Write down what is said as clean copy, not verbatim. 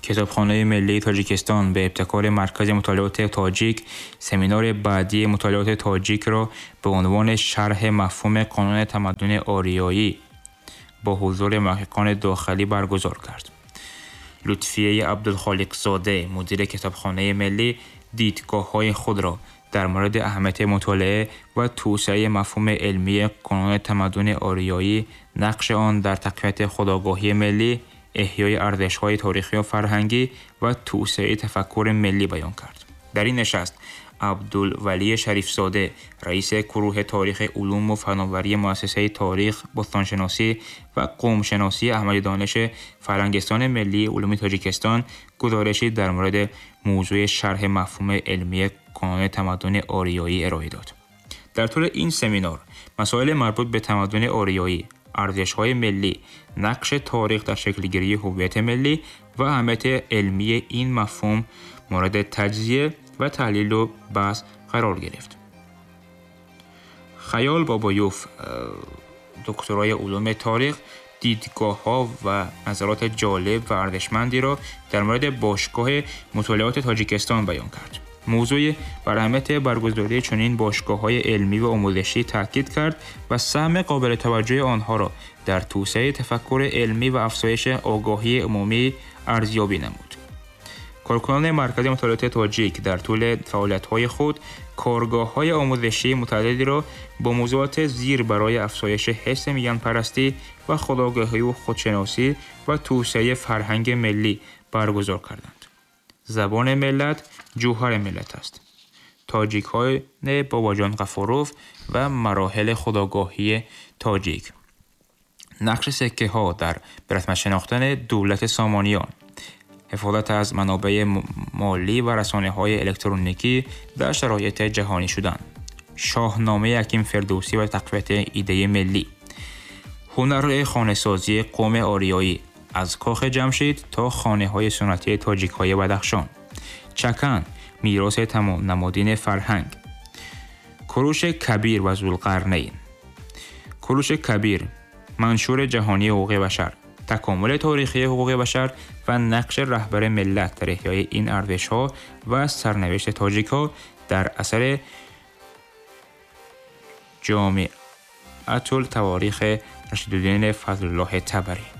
Китобхонаи миллии Тоҷикистон ба ибтикори Маркази мутолиоти тоҷик семинари баъдии мутолиоти тоҷикро ба унвони шарҳи мафҳуми қонуни тамаддуни ориёӣ бо ҳузури муҳаққиқони дохилӣ баргузор кард. Лутфияи Абдулхолиқзода, мудири Китобхонаи миллӣ, дидгоҳҳои худро дар мавриди аҳамияти мутолиа ва توسعه мафҳуми илмии қонуни тамаддуни ориёӣ, нақши он дар тақвияти худогоҳии миллӣ, эҳёи арзишҳои таърихию фарҳангӣ ва توسعه тафаккури миллӣ баён кард. Дар ин нишаст Абдулвалӣ Шарифзода, раиси гурӯҳи таърихи улуму фановарии Муассисаи таърих, бостоншиносӣ ва қавмшиносии Аҳмади Дониши Фарҳангистони миллии улуми Тоҷикистон гузоришe дар мавриди мавзӯи шарҳи мафҳуми илмии қонуни тамаддуни ориёӣ ироа дод. Дар тӯли ин семинар масоили марбут ба тамаддуни ориёӣ, арзишҳои миллӣ, нақши таърих дар шаклгирии ҳувияти миллӣ ва аҳамияти илмии ин мафҳум мавриди таҷзия ва таҳлилу баҳс қарор гирифт. Хаёл Бобоюв, докторای علوم تاریخ، دیدگاه‌ها و نظرات جالب و ارزشمندی را در مورد باشگاه مطالعات تاجیکستان بیان کرد. موضوع بر اهمیت برگزاری چنین باشگاه‌های علمی و آموزشی تاکید کرد و سهم قابل توجه آنها را در توسعه تفکر علمی و افزایش آگاهی عمومی ارزیابی نمود. کارکنان مرکز مطالعات تاجیک در طول فعالیت‌های خود کارگاه‌های آموزشی متعددی را با موضوعات زیر برای افزایش حس میانپرستی و خودآگاهی و خودشناسی و توسعه فرهنگ ملی برگزار کردند. زبان ملت جوهر ملت است. تاجیک‌های باباجان غفاروف و مراحل خودآگاهی تاجیک. نقش سکه‌ها در به رسمیت شناختن دولت سامانیان، حفاظت از منابع مالی و رسانه‌های الکترونیکی در شرایط جهانی شدن، شاهنامه حکیم فردوسی و تقویت ایده ملی، هنر خانه‌سازی قوم آریایی از کاخ جمشید تا خانه‌های سنتی تاجیک‌های بدخشان، چکن میراث نمادین فرهنگ، کوروش کبیر و ذوالقرنین، کوروش کبیر منشور جهانی حقوق بشر، تکامل تاریخی حقوق بشر و نقش رهبر ملت در احیای این ارزش‌ها و سرنوشت تاجیک‌ها در اثر جامعه التواریخ رشیدالدین فضلالله طبری.